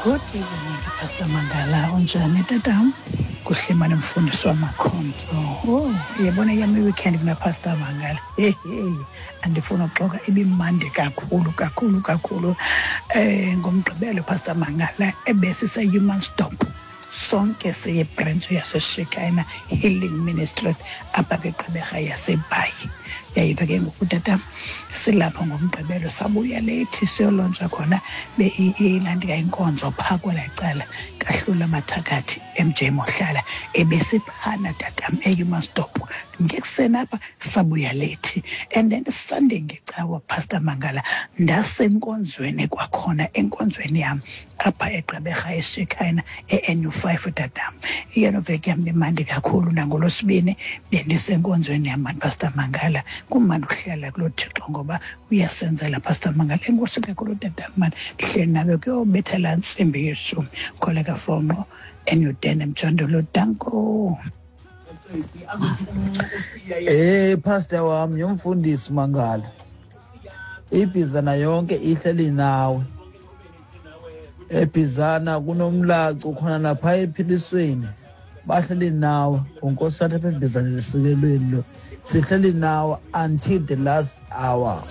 Good evening, Pastor Mangala. Unjani tatam? Kuhle mane mfundisi wamakhonto. Oh, uyabona yam iweekend mna Pastor Mangala. Hey, hey. Andifuna uxoka ibimandi kakhulu kakhulu kakhulu. Eh ngoMgqibelo Pastor Mangala ebesise-Human Stop. Sonke siyibhrentshi yaseShekina Healing Ministry apha kwiGqeberha yaseBhayi. Yayiva ke ngoku tata silapho ngoMgqibelo sabuya leyithi siyolontsha khona ilandika inkonzo phaa kwelaa cala kahlula amathakathi MJ Mohlala ebesiphana tatam eHumansdorp ngekuseni apha sabuya lethi. And then Sunday ngecawa Pastor Mangala ndasenkonzweni kwakhona enkonzweni yam apha eGqeberha eShekhina e-NU 5 tatam. Iyona veki yam imandi kakhulu nangolwesibini bendisenkonzweni yam mani Pastor Mangala. Kumandi ukuhlala kuloo Thixo ngoba uyasenzela Pastor Mangala. Enkosi kakhulu tatam mani, ndihleli nawe kuyobetha laa ntsimbi yeshumi. Kholeka Fonqo, eNew Emjondolo. Danko. Eh pastor wami yomfundisi Mangala. Ibhizana yonke ihleli nawe. Ebhizana kunomlacu khona lapha ephilisweni. Bahleli nawe uNkosi apha ebhizana lesikelweni lo. Sihleli nawe until the last hour.